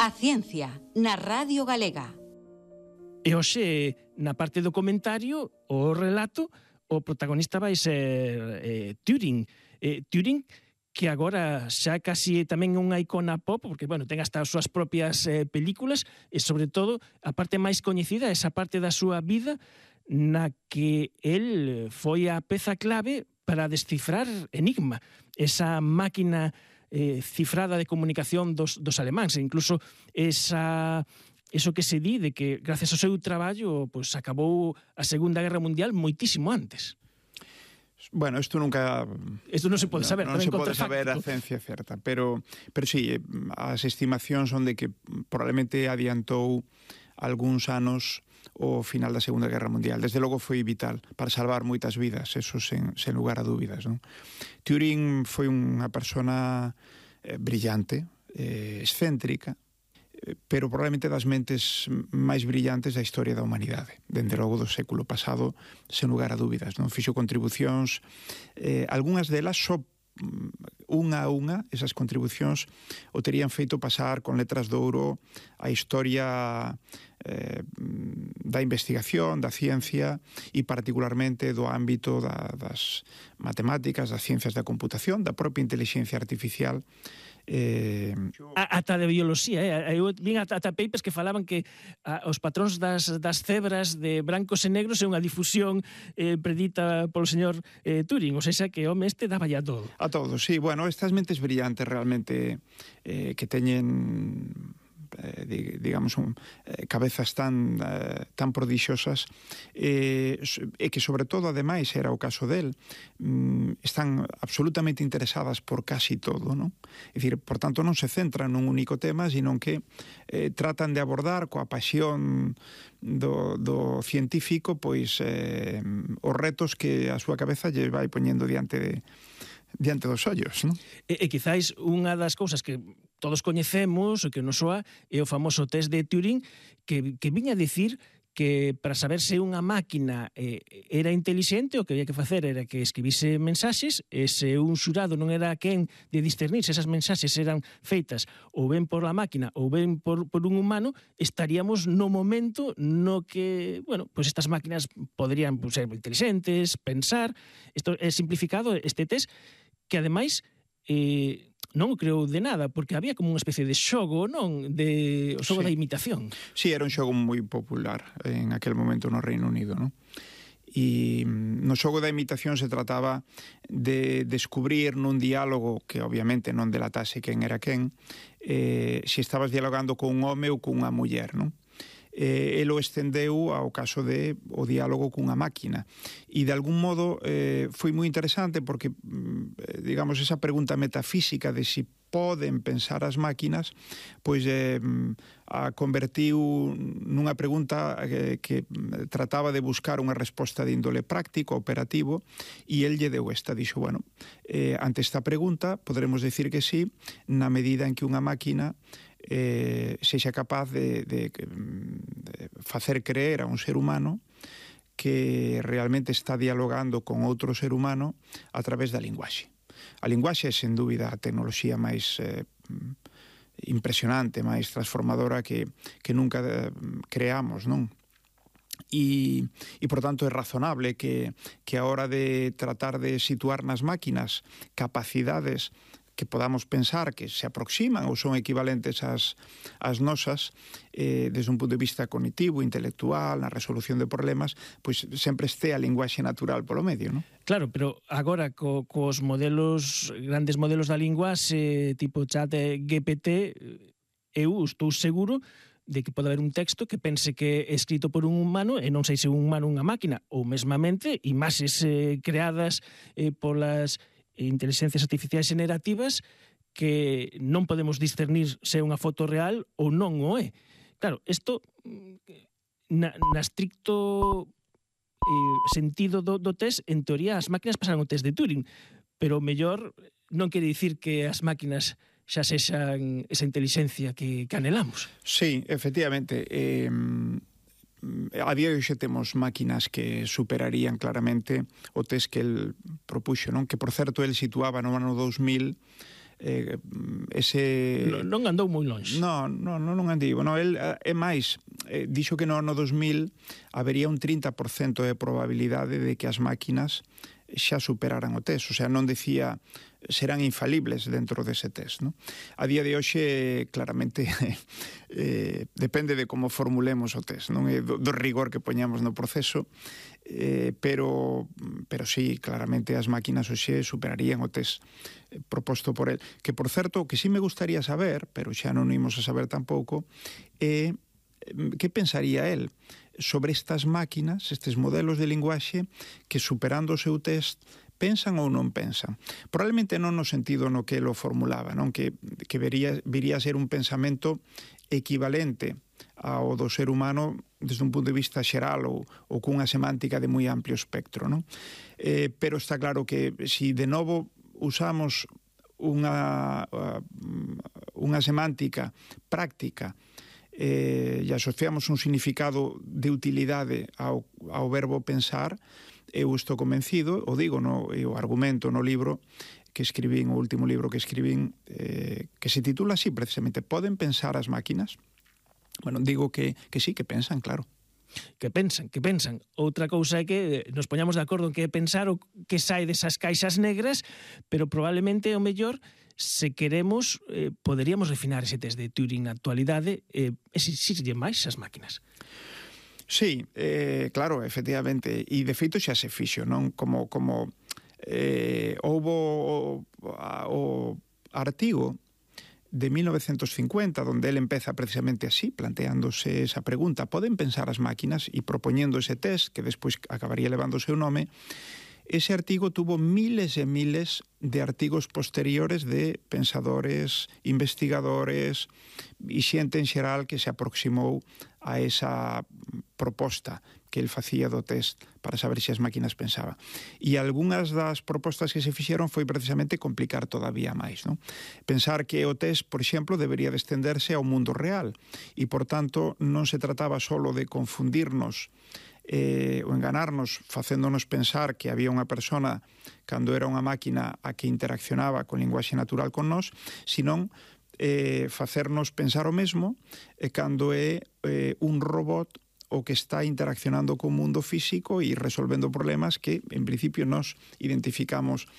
A ciencia, na Radio Galega. E hoxe, na parte do comentario, o relato, o protagonista vai ser Turing. Turing, que agora xa casi tamén é unha icona pop, porque, bueno, ten hasta as súas propias películas, e, sobre todo, a parte máis coñecida, esa parte da súa vida na que el foi a peza clave para descifrar Enigma, esa máquina cifrada de comunicación dos alemáns, e incluso eso que se di de que gracias ao seu traballo pues, acabou a Segunda Guerra Mundial moitísimo antes. Bueno, isto nunca... Isto non se pode saber. Non se pode saber a ciencia certa, pero sí, as estimacións son de que probablemente adiantou algúns anos o final da Segunda Guerra Mundial. Desde logo foi vital para salvar moitas vidas, eso sen lugar a dúbidas, non? Turing foi unha persona brillante, excéntrica, pero probablemente das mentes máis brillantes da historia da humanidade, dende logo do século pasado, sen lugar a dúbidas, non? Fixo contribucións, algunhas delas só unha a unha, esas contribucións o terían feito pasar con letras de ouro a historia da investigación, da ciencia e particularmente do ámbito das matemáticas, das ciencias da computación, da propia inteligencia artificial. Ata de bioloxía, eu vin ata papers que falaban que os patróns das cebras de brancos e negros é unha difusión predita polo señor Turing, ou seja, que o home este daba ya todo. A todos, sí, bueno, estas mentes brillantes realmente que teñen digamos cabezas tan prodixiosas e que sobre todo ademais era o caso del, están absolutamente interesadas por casi todo, non? É dicir, por tanto non se centran nun único tema, sino que tratan de abordar coa pasión do científico pois os retos que a súa cabeza lle vai poñendo diante dos ollos, non? E quizáis unha das cousas que todos coñecemos, o que nos soa, é o famoso test de Turing, que viña a dicir que para saber se unha máquina era intelixente, o que había que facer era que escribise mensaxes, e se un xurado non era quen de discernir se esas mensaxes eran feitas ou ben por la máquina ou ben por un humano, estaríamos no momento no que, bueno, pues estas máquinas poderían ser intelixentes, pensar. Isto é simplificado, este test, que ademais non o creou de nada, porque había como unha especie de xogo, non? O xogo da imitación. Sí, era un xogo moi popular en aquel momento no Reino Unido, non? E no xogo da imitación se trataba de descubrir nun diálogo que obviamente non delatase quen era quen, se estabas dialogando con un home ou con unha muller, non? El o estendeu ao caso de o diálogo cunha máquina e de algún modo foi moi interesante porque digamos esa pregunta metafísica de si poden pensar as máquinas pois a convertiu nunha pregunta que trataba de buscar unha resposta de índole práctico, operativo, e el lle deu esta, dixo, bueno, ante esta pregunta poderemos decir que sí na medida en que unha máquina sexa capaz de facer creer a un ser humano que realmente está dialogando con outro ser humano a través da linguaxe. A linguaxe é, sen dúbida, a tecnoloxía máis impresionante, máis transformadora que nunca creamos, non? E, por tanto, é razonable que a hora de tratar de situar nas máquinas capacidades que podamos pensar que se aproximan ou son equivalentes ás nosas desde un punto de vista cognitivo, intelectual, na resolución de problemas, pois sempre este a linguaxe natural polo medio, non? Claro, pero agora cos modelos, grandes modelos da linguaxe tipo chat GPT, eu estou seguro de que pode haber un texto que pense que é escrito por un humano e non sei se un humano ou unha máquina, ou mesmamente imaxes creadas polas inteligencias artificiais generativas que non podemos discernir se é unha foto real ou non o é. Claro, isto na estricto sentido do test, en teoría as máquinas pasaron o test de Turing, pero mellor non quere dicir que as máquinas xa sexan esa inteligencia que anhelamos. Sí, efectivamente. A día de hoxe temos máquinas que superarían claramente o test que el propuxo, non? Que, por certo, el situaba no ano 2000 Non andou moi longe. Non andivo. No, el é máis, dixo que no ano 2000 habería un 30% de probabilidade de que as máquinas xa superaran o test, o sea, non decía serán infalibles dentro dese test, no? A día de hoxe, claramente, depende de como formulemos o test, non? Do rigor que poñamos no proceso, pero sí, claramente as máquinas hoxe superarían o test proposto por el. Que, por certo, que sí me gustaría saber, pero xa non imos a saber tampouco, que pensaría el sobre estas máquinas, estes modelos de linguaxe que, superando o seu test, pensan ou non pensan. Probablemente non no sentido no que lo formulaba, non? Que viría a ser un pensamento equivalente ao do ser humano desde un punto de vista xeral ou cunha semántica de moi amplio espectro, non? Pero está claro que si de novo usamos unha semántica práctica e asociamos un significado de utilidade ao verbo pensar, eu estou convencido, o digo, o argumento no libro que escribín, o último libro que escribín, que se titula así precisamente, Poden pensar as máquinas? Bueno, digo que sí, que pensan, claro. Que pensan. Outra cousa é que nos poñamos de acordo en que pensar o que sai desas caixas negras, pero probablemente o mellor, se queremos, poderíamos refinar ese test de Turing na actualidade e exixirlle máis as máquinas. Sí, claro, efectivamente, e de feito xa se fixo, non? Como houbo o artigo de 1950, donde él empeza precisamente así, planteándose esa pregunta, poden pensar as máquinas, e propoñendo ese test, que despois acabaría levando o seu nome. Ese artigo tuvo miles e miles de artigos posteriores de pensadores, investigadores e xente en xeral que se aproximou a esa proposta que el facía do test para saber se as máquinas pensaban. E algunhas das propostas que se fixeron foi precisamente complicar todavía máis, non? Pensar que o test, por exemplo, debería de estenderse ao mundo real e, por tanto, non se trataba solo de confundirnos ou enganarnos facéndonos pensar que había unha persona cando era unha máquina a que interaccionaba con linguaxe natural con nós, senón facernos pensar o mesmo cando é un robot o que está interaccionando co mundo físico e resolvendo problemas que, en principio, nos identificamos